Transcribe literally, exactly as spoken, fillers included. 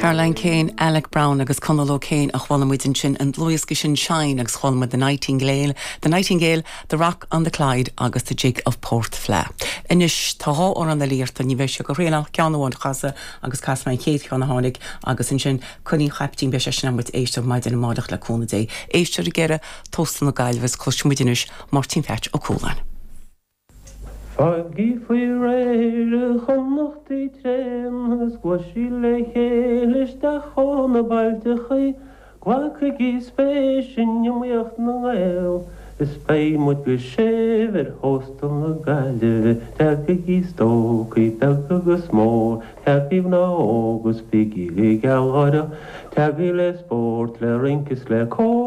Caroline Kane, Alec Brown agus Conal O'Kane a chuala muid ansin an dlúthdhiosca sin Shine agus chuala muid The Nightingale, The Nightingale, The Rock on the Clyde agus The Jig of Port Fla. Anois tá dhá amhrán iarrtha ní bheidh sé go réal ceann amháin a chasadh agus casfaidh mé an chéad cheann a tháinig agus ansin Coinín Chaiptín beidh sé sin muid éisteacht maidin amárach le cúnamh Dé. Éistear ag deireadh Tósta na Gaillimhe is cloisfidh muid anois Máirtín Pheait Ó Cualáin. Fágaigí faoi réir a Chonnachtaí tréan is gluaisigí le chéile isteach ó na bailteachaí, Glacaigí spéis in iomaíocht na nGael, is beidh muid go séimh ar Thóstal na Gaillimhe, Tagaigí stócaigh beag agus mór, Tagaigí mná óga is bígí gealgháireach, Tagaigí le spórt le rince is le cór.